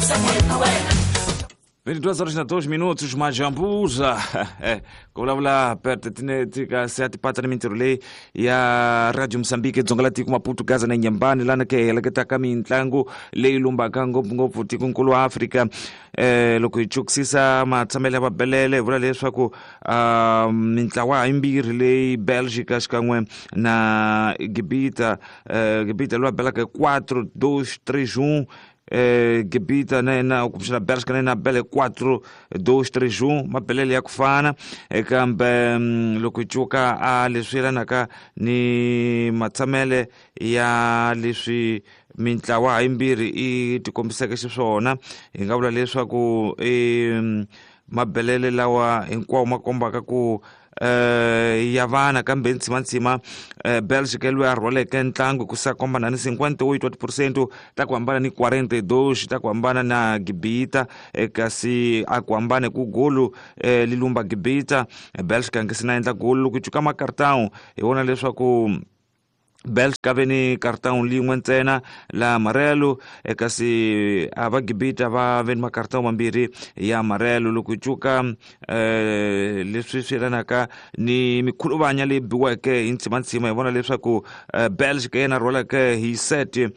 22 horas na 2 minutos, Majambuza. Ku vulavula pertinente ka se atipata ni mintirho leyi ya Radio Mozambique Dzonga la tiko Maputo Gaza na Nyambani lana ke heleketaka mintlangu leyi lumbaka ngopfungopfu tikonkulu wa Afrika. Loko hi chukisisa matshamelo ya vabelele hi vula leswaku mintlawa yimbirhi leyi Belgica xikan'we na Gibita, Gibita loyi a belaka hi 4 2 3 1, Gibita na yena kumbexana Belgica na yena bele 4 2 3 1, mabelele ya ku fana. Kambe loko hi cuka a leswi yelanaka ni matshamele ya leswi mintlawa yimbirhi i tikombiseke xiswona, hi nga vula leswaku mabelele lawa hinkwawo ma kombaka ku ya vana, kambe ntsimantsima Belgica loyi a rhwaleke ntlangu ku sa komba na ni 58% ta ku hambana ni 42 ta ku hambana na Gibita, kasi a ku hambane ku golu li lumba Gibita. Belgica nge se na endla golu. Loko cuka makartão hi vona leswaku Belgica ve ni kartão lin'we ntsena la amarelo, kasi a va Gibita va ve ni makartão mambirhi ya amarelo. Loko hi cuka leswi swi yelanaka ni mikhuluvanya leyi biweke hi ntsimantsima, hi vona leswaku Belgica yena rhwaleke hi set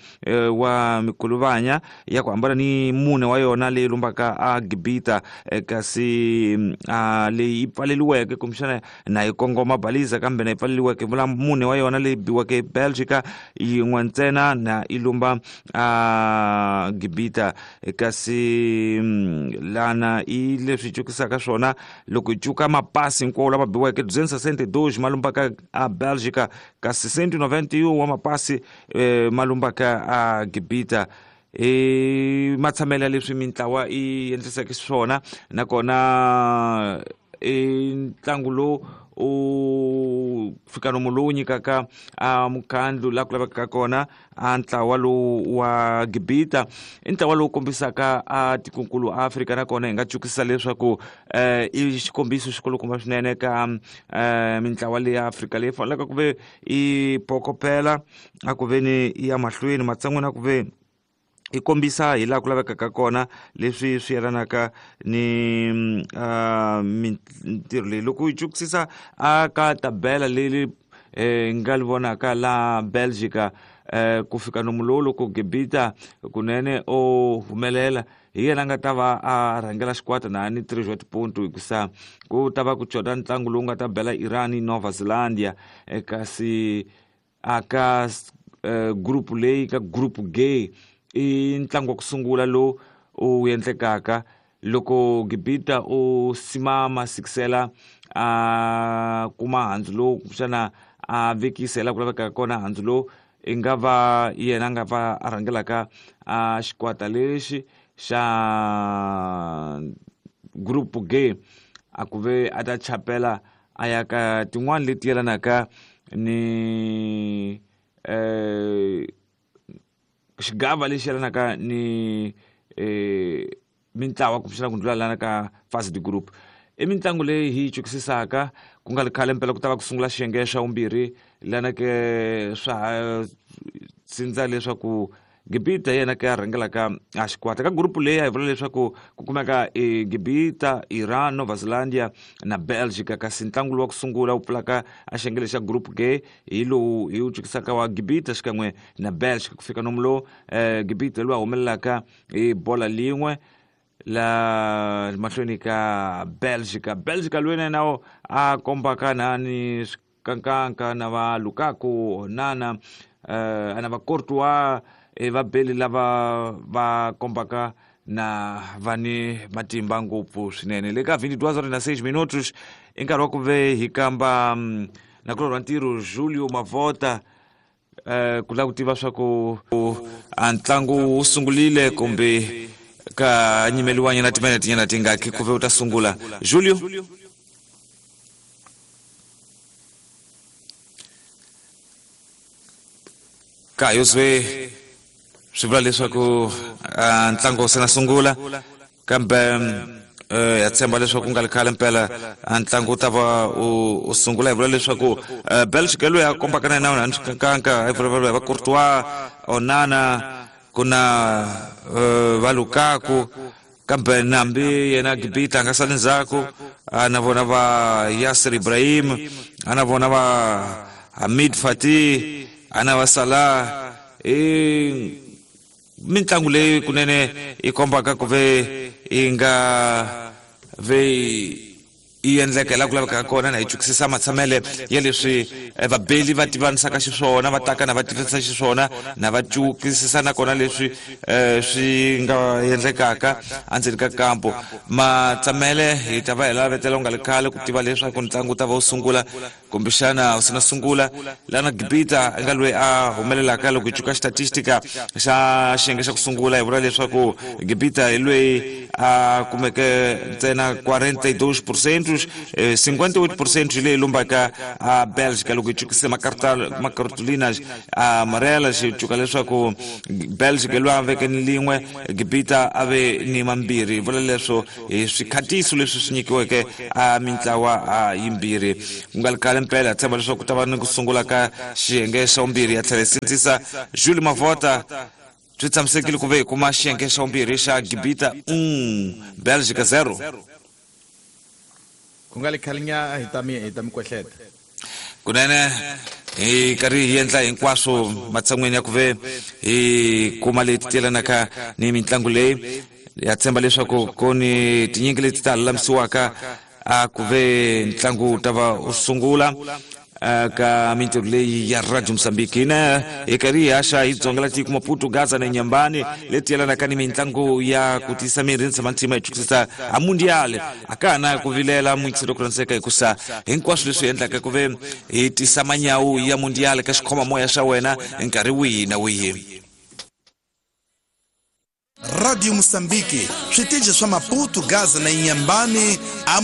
wa mikhuluvanya ya ku hambana ni mune wa yona leyi lumbaka a Gibita, kasi leyi yi pfaleliweke kumbexana na yi kongoma baliza kambe na yi pfaleliweke, vula mune wa yona leyi biweke hi Belgica yin'we ntsena na yi lumba a Gibita. Kasi lana i leswi cukisaka swona loko hi cuka mapasi hinkwawo lama biweke 262 ma lumbaka a Belgica, kasi 191 wa mapasi ma lumbaka a Gibita. I matshamelo ya leswi mintlawa i endliseke swona, nakona i ntlangu lowu u fika nomu lowu nyikaka a mukhandlu laha ku lavekaka kona a ntlawa lowu wa Gibita i ntlawa lowu kombisaka a tikonkulu Afrika, nakona hi nga cukisa leswaku i xikombiso xikulukumba swinene ka mintlawa leyi ya Afrika leyi faneleke ku ve i pokopela a ku ve ni ya mahlweni matsan'wini a ku ve i kombisa hi laha ku lavekaka kona leswi swi yelanaka ni mintirho leyi. Loko hi cukisisa a ka tabela leyi nga li vonaka la Belgica, ku fika nomu lowu loko Gibita kunene o humelela hi yena a nga ta va a rhangela xikwata na ni 3 wa tiponto, hikusa ku ta va ku coda ntlangu lowu nga ta bela Iran Nova Zealandia, kasi a ka group leyi ka group G i ntlangu wa ku sungula lowu u endlekaka loko Gibita u simama sikisela a kuma handzu lowu kumbexana a vekisela ku lavekaka kona handzu lowu, i nga va yena a nga va a rhangelaka a xikwata lexi xa group G, a ku ve a ta chapela a ya ka tin'wani leti yelanaka ni xigava lexi yelanaka ni mintlawa kumbexana ku ndlula lana ka first group. I mitlangu leyi hi yi cukisisaka ku nga ri khale mpela ku ta va ku sungula xiyenge xa vumbirhi lana ke swa ha sindza leswaku Gibita yena ke a rhangelaka a xikwata ka gurupu leyi a hi vula leswaku ku kumeka e Gibita, Iran, Nova Zealandia na Belgica, kasi ntlangu lowu wa ku sungula wu pfulaka a xiyenge lexa group G hi lowu hi wu cukisaka wa Gibita xikan'we na Belgica. Ku fika nomu lowu Gibita lowu a humelelaka hi bola lin'we la mahlweni ka Belgica. Belgica loyi na yena a kombaka na ni kankanka na va Lukaku, Onana, na va Courtois, vabeli lava va kombaka na va ni matimba ngopfu swinene. Le ka 22 horas na 6 minutos i nkarhi wa ku ve hi kamba nakulorhi wa ntirho Julio Mavota, ku lava ku tiva swa ku a ntlangu wu sungurile kumbe ka nyimeliwanyana timinete nyana tingaki ku ve u ta sungula. Julio ka yo swe swi vula leswaku ntlangu se na sungula, kambe ya tshemba leswaku ku nga ri khale mpela ntlangu wu ta va u sungula. Hi vula leswaku Belgica loyi a kombaka na yena na swikankanka, hi vulavula hi va Courtois, Onana. ku na va Lukaku kambe nambi yena Gibita a nga sali ndzhaku, na vona va Yasser Ibrahim, a na vona va Hamid Fatih, a na va Salah. I mitlangu leyi kunene yi kombaka ku ve yi nga ve yi endleka laha ku lavekaka kona, na hi chukisisa matshamele ya leswi vabeli va tivanisaka xiswona, va taka na va tivisa xiswona, na va cukisisa nakona leswi swi nga endlekaka endzeni ka kampo. Matsamele hi ta va hi lavetela ku nga ri khale ku tiva leswaku ntlangu wu ta va wu sungula kumbexana wu sina sungula. Lana Gibita nga loyi a humelelaka loko hi cuka xitatistika xa xiyenge xa ku sungula, hi vula leswaku Gibita hi loyi a kumeke ntsena 42%, 58% hi leyi lombaka a Belgica. Loko hi cukise macartolinas amarelas, hi cuka leswaku Belgica loyi a veke ni lin'we, Gibita a ve ni mambirhi. Hi vula leswo hi swikhatiso leswi swi nyikiweke a mintlawa a yimbirhi. Ku nga ri khale mpela hi tshemba leswaku ku ta va ni ku sungula ka xiyenge xa vumbirhi. Ya tlhela hi sindzisa Jules Mavota, swi tshamisekile ku ve hi kuma xiyenge xa vumbirhi xa Gibita Belgica 0? Ku nga ri khale nya hi ta mi kwehleta. Kunene hi karhi hi endla hinkwaswo matshan'weni ya ku ve hi kuma leti tiyelanaka ni mitlangu leyi. Ya tshemba leswaku ku ni tinyingi leti ta lulamisiwaka a ku ve ntlangu wu ta va wu sungula ka mintirho leyi ya Radio Mozambique. Hina hi karhi hi haxa hi dzonga la tiko Maputo, Gaza na Nyambani leti yelanaka ni mitlangu ya ku tiyisa miri ni tshama ntima hi chukisisa a mundial. A ka ha na ku vilela muyingiseri ku rhandzeka, hikusa hinkwaswo leswi endlaka ku ve hi tisa manyawu ya mundial ka xikhomamoya xa wena nkarhi wihi na wihi. Radio Mozambique, switichi swa Maputo, Gaza na Inhambane.